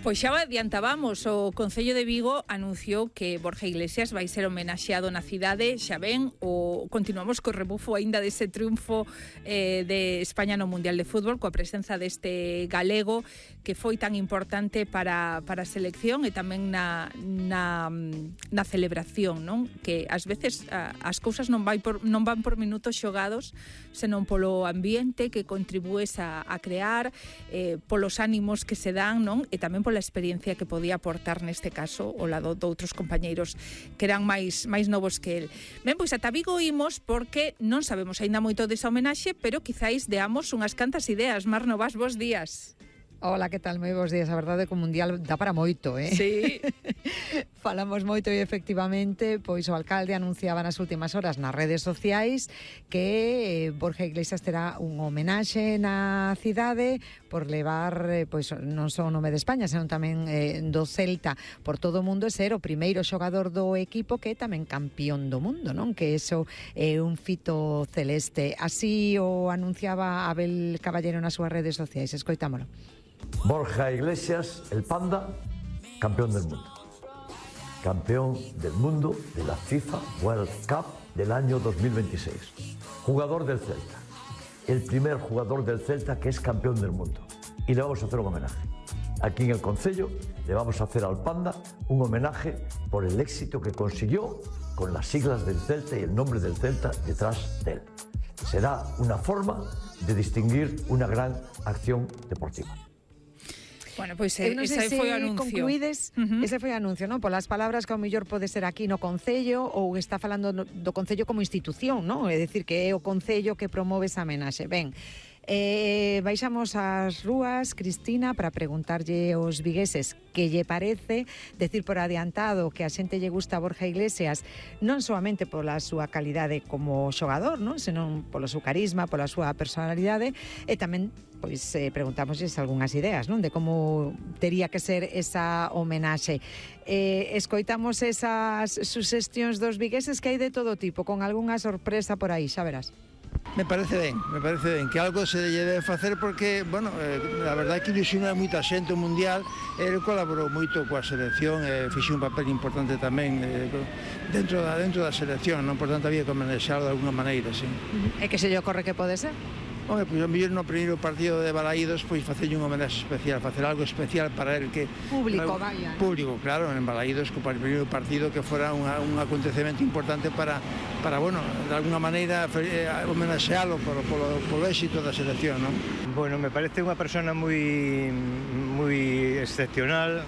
Pois xa o adiantábamos, o Concello de Vigo anunciou que Borja Iglesias vai ser homenaxeado na cidade, xa ben, continuamos co rebufo aínda dese triunfo de España no Mundial de Fútbol, coa presenza deste galego que foi tan importante para a selección e tamén na celebración, non? Que ás veces as cousas non van por minutos xogados, senón polo ambiente que contribúes a crear, polos ánimos que se dan, non? E tamén pola experiencia que podía aportar neste caso ao lado de outros compañeiros que eran máis novos que el. Ben, pois ata Vigo imos porque non sabemos aínda moito desa homenaxe, pero quizáis deamos unhas cantas ideas. Mar Novas, bos días. Hola, que tal? Moi bons días. A verdade é que o Mundial dá para moito, Sí. Falamos moito e efectivamente, pois o alcalde anunciaba nas últimas horas nas redes sociais que Borja Iglesias terá un homenaxe na cidade por levar, pois non só o nome de España, senón tamén do Celta por todo o mundo e ser o primeiro xogador do equipo que é tamén campeón do mundo, non? Que iso é un fito celeste. Así o anunciaba Abel Caballero nas súas redes sociais. Escoitámolo. Borja Iglesias, el Panda, campeón del mundo. Campeón del mundo de la FIFA World Cup del año 2026. Jugador del Celta. El primer jugador del Celta que es campeón del mundo. Y le vamos a hacer un homenaje. Aquí en el Concello le vamos a hacer al Panda un homenaje por el éxito que consiguió con las siglas del Celta y el nombre del Celta detrás de él. Será una forma de distinguir una gran acción deportiva. Bueno, pois ese foi o anuncio. Concluídes, ese foi o anuncio, non? Polas palabras que ao mellor pode ser aquí no Concello ou está falando do Concello como institución, non? É dicir, que é o Concello que promove esa homenaxe. Ben, baixamos ás rúas, Cristina, para preguntarlle aos vigueses que lle parece, decir por adiantado que a xente lle gusta a Borja Iglesias non solamente pola súa calidade como xogador, non? Senón polo seu carisma, pola súa personalidade e tamén pois preguntámosles algunhas ideas, non? De como tería que ser esa homenaxe. Escoitamos esas suxestións dos vigueses que hai de todo tipo, con algunha sorpresa por aí, xa verás. Me parece ben, que algo se lle debe facer porque, bueno, a verdade é que ilusiona moita xente o Mundial, ele colaborou moito coa selección, fixe un papel importante tamén dentro da selección, non? Por tanto había que homenaxearlo de alguna maneira, sí. E que se lle ocorre que pode ser? Home, pois a mellor no primeiro partido de Balaídos pois facerlle un homenaxe especial, facer algo especial para el que... Público, vaya. Público, claro, en Balaídos, para o primeiro partido que fora un acontecemento importante para bueno, de alguna maneira homenaxealo polo éxito da selección, non? Bueno, me parece unha persona moi excepcional,